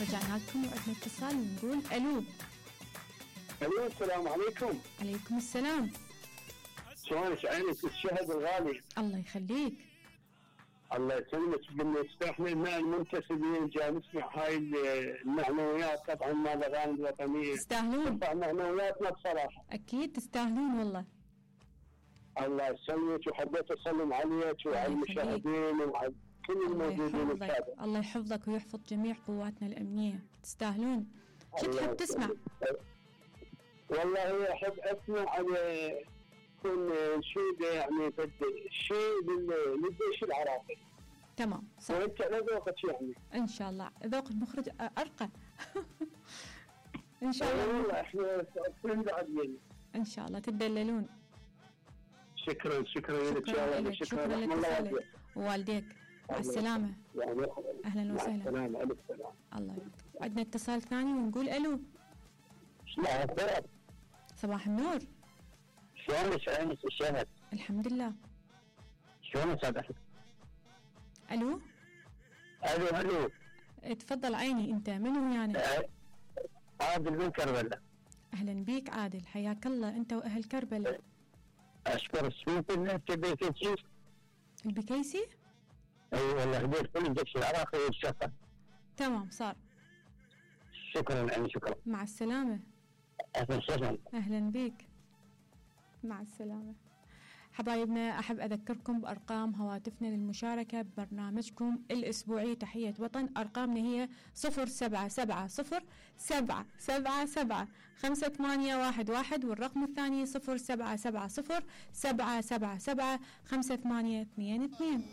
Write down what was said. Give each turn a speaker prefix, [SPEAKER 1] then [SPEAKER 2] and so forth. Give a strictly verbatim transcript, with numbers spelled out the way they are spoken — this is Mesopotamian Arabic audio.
[SPEAKER 1] رجعنا لكم وعندنا اتصال ونقول الو.
[SPEAKER 2] الو السلام عليكم.
[SPEAKER 1] عليكم السلام.
[SPEAKER 2] شلونك عينك الشهد الغالي؟
[SPEAKER 1] الله يخليك.
[SPEAKER 2] الله يسلمك. قلنا استحنا مع المنتسبين جاي نسمع هاي المعنويات طبعا مال الاغاني الوطنيه.
[SPEAKER 1] تستاهلون.
[SPEAKER 2] ترفع معنوياتنا بصراحه.
[SPEAKER 1] اكيد تستاهلون والله.
[SPEAKER 2] الله يسلمك وحبيت اسلم عليك وعلى المشاهدين وعلى كل الموجودين الساده.
[SPEAKER 1] الله يحفظك ويحفظ جميع قواتنا الامنيه، تستاهلون. شو تحب تسمع؟
[SPEAKER 2] والله احب اسمع على يكون انشوده يعني شيء للجيش العراقي.
[SPEAKER 1] تمام صح.
[SPEAKER 2] وانت على ذوقك يعني.
[SPEAKER 1] ان شاء الله ذوق المخرج ارقى. ان شاء الله.
[SPEAKER 2] والله احنا كلنا بعدين.
[SPEAKER 1] ان شاء الله تدللون.
[SPEAKER 2] شكرا شكرا لك يا
[SPEAKER 1] لك. شكرا لك ووالديك. مع السلامة.
[SPEAKER 2] يعني
[SPEAKER 1] أهلا وسهلا.
[SPEAKER 2] مع السلامة. ألف سلامة.
[SPEAKER 1] الله يبارك. عندنا اتصال ثاني ونقول ألو.
[SPEAKER 2] صباح
[SPEAKER 1] صباح النور.
[SPEAKER 2] شلونك عينك الشهد؟
[SPEAKER 1] الحمد لله.
[SPEAKER 2] شلونك سعادتك؟
[SPEAKER 1] ألو.
[SPEAKER 2] ألو ألو.
[SPEAKER 1] تفضل عيني. أنت منو يعني؟
[SPEAKER 2] عادل من كربلاء.
[SPEAKER 1] أهلا بيك عادل، حياك الله أنت وأهل كربلاء.
[SPEAKER 2] أشكر السوق اللي أنت بيكيسي.
[SPEAKER 1] البكيسي؟
[SPEAKER 2] اي والله هديت كل الجيش العراقي والشفا.
[SPEAKER 1] تمام صار.
[SPEAKER 2] شكرا يعني شكرا.
[SPEAKER 1] مع السلامة.
[SPEAKER 2] اهلا وسهلا.
[SPEAKER 1] اهلا بك. مع السلامة. حبايبنا احب اذكركم بارقام هواتفنا للمشاركة ببرنامجكم الاسبوعي تحية وطن. ارقامنا هي صفر سبعة سبعة صفر سبعة سبعة سبعة خمسة ثمانية واحد واحد والرقم الثاني صفر سبعة سبعة صفر سبعة سبعة سبعة خمسة ثمانية اثنين اثنين.